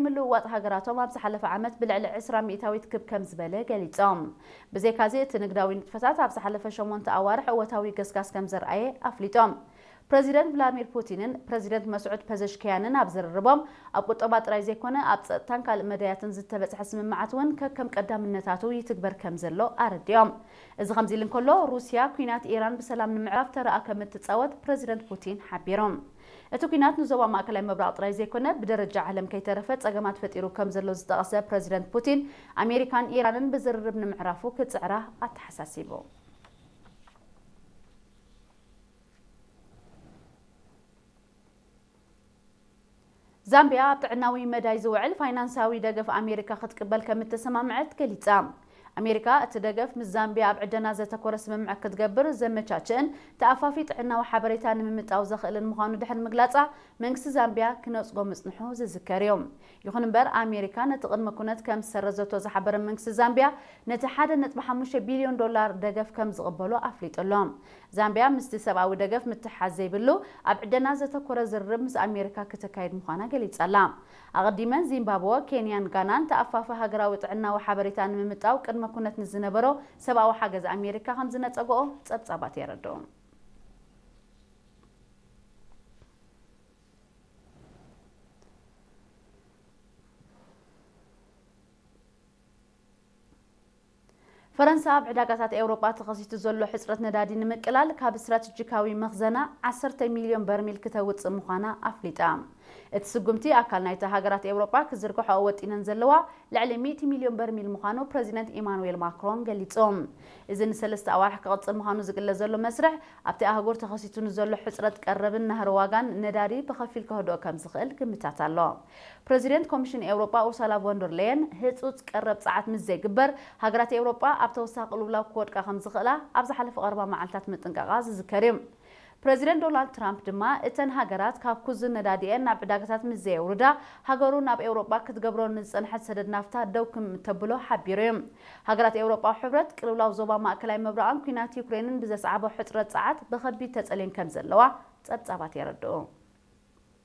ምልውዋጥ ሃገራቶም ኣብ ዝሓለፈ ዓመት ብልዕሊ ዕስራ ሚእታዊት ክብ ከም ዝበለ ገሊጾም። ብዘይካዚ፣ እቲ ንግዳዊ ንጥፈታት ኣብ ዝሓለፈ ሸሞንተ ኣዋርሕ እወታዊ ገስጋስ ከም ዘርኣየ ኣፍሊጦም። ፕረዚደንት ቭላድሚር ፑቲንን ፕረዚደንት መስዑድ ፐዘሽኪያንን ኣብ ዝርርቦም፣ ኣብ ቁጠባ ጥራይ ዘይኮነ፣ ኣብ ጸጥታን ካልእ መዳያትን ዝተበጽሐ ስምምዓት እውን ከከም ቀዳምነታቱ ይትግበር ከም ዘሎ ኣረዲኦም። እዚ ከምዚ ኢሉ እንከሎ፣ ሩስያ ኲናት ኢራን ብሰላም ንምዕራፍ ተራኣ ከም እትጻወት ፕረዚደንት ፑቲን ሓቢሮም። እቲ ኲናት ንዞባ ማእከላይ ምብራቕ ጥራይ ዘይኮነ፣ ብደረጃ ዓለም ከይተረፈ ጸገማት ፈጢሩ ከም ዘሎ ዝጠቐሰ ፕረዚደንት ፑቲን፣ ኣሜሪካን ኢራንን ብዝርርብ ንምዕራፉ ክጽዕራ ኣተሓሳሲቡ። ዛምቢያ ኣብ ጥዕናዊ መዳይ ዝውዕል ፋይናንሳዊ ደገፍ ኣሜሪካ ክትቅበል ከም እተሰማምዐት ገሊጻ። ኣሜሪካ እቲ ደገፍ ምስ ዛምቢያ ኣብ ዕደና ዘተኮረ ስምምዕ ክትገብር ዘመቻችእን ተኣፋፊ ጥዕናዊ ሓበሬታ ንምምጣው ዘኽእልን ምዃኑ ድሕሪ ምግላጻ፣ መንግስቲ ዛምቢያ ክነጽጎ ምጽንሑ ዝዝከር እዩ። ይኹን እምበር፣ ኣሜሪካ ነቲ ቅድመ ኩነት ከም ዝሰረዘቶ ዝሓበረ መንግስቲ ዛምቢያ፣ ነቲ ሓደ ነጥቢ ሓሙሽተ ቢልዮን ዶላር ደገፍ ከም ዝቕበሎ ኣፍሊጡ ኣሎ። ዛምቢያ ምስቲ ሰብኣዊ ደገፍ ምትሓዝ ዘይብሉ፣ ኣብ ዕደና ዘተኮረ ዝርርብ ምስ ኣሜሪካ ክተካይድ ምዃና ገሊጻ ኣላ። ኣቐዲመን ዚምባብወ፣ ኬንያን ጋናን ተኣፋፊ ሃገራዊ ጥዕናዊ ሓበሬታ ንምምጣው ቅድመ ኩነት ንዝነበሮ ሰብኣዊ ሓገዝ ኣሜሪካ ከም ዝነጸግኦ ጸብጻባት የረድኡ። ፈረንሳ ኣብ ዕዳጋታት ኤውሮጳ ተኸሲቱ ዘሎ ሕጽረት ነዳዲ ንምቅላል ካብ ስትራተጂካዊ መኽዘና ዓሰርተ ሚልዮን በርሚል ክተውጽእ ምዃና ኣፍሊጣ። እቲ ስጉምቲ ኣካል ናይቲ ሃገራት ኤውሮጳ ክዝርግሖ ወጢነን ዘለዋ ልዕሊ ሚእቲ ሚልዮን በርሚል ምዃኑ ፕረዚደንት ኢማኑኤል ማክሮን ገሊጹ። እዚ ንሰለስተ ኣዋርሕ ክቕጽል ምዃኑ ዝግለጽ ዘሎ መስርሕ፣ ኣብቲ ኣህጉር ተኸሲቱ ንዘሎ ሕጽረት ቀረብን ናህሪ ዋጋን ነዳዲ ብኸፊል ከህድኦ ከም ዝኽእል ግምታት ኣሎ። ፕረዚደንት ኮሚሽን ኤውሮጳ ኡርሳላ ቮንደር ሌየን፣ ህጹጽ ቀረብ ጸዓት ምስ ዘይግበር፣ ሃገራት ኤውሮጳ ኣብ ተወሳኺ ቅልውላው ክወድቃ ከም ዝኽእላ ኣብ ዝሓለፈ ቀረባ መዓልታት ምጥንቃቓ ዝዝከር እዩ። ፕረዚደንት ዶናልድ ትራምፕ ድማ፣ እተን ሃገራት ካብ ኩዝን ነዳዲኤን ናብ ዕዳጋታት ምስ ዘየውርዳ፣ ሃገሩ ናብ ኤውሮጳ ክትገብሮ ንዝጸንሐት ሰደድ ናፍታ ደው ከም እተብሎ ሓቢሩ እዩ። ሃገራት ኤውሮጳዊ ሕብረት፣ ቅልውላው ዞባ ማእከላይ ምብራቕን ኲናት ዩክሬንን ብዘስዓቦ ሕጽረት ጸዓት ብኸቢድ ተጸልየን ከም ዘለዋ ጸብጻባት የረድኡ።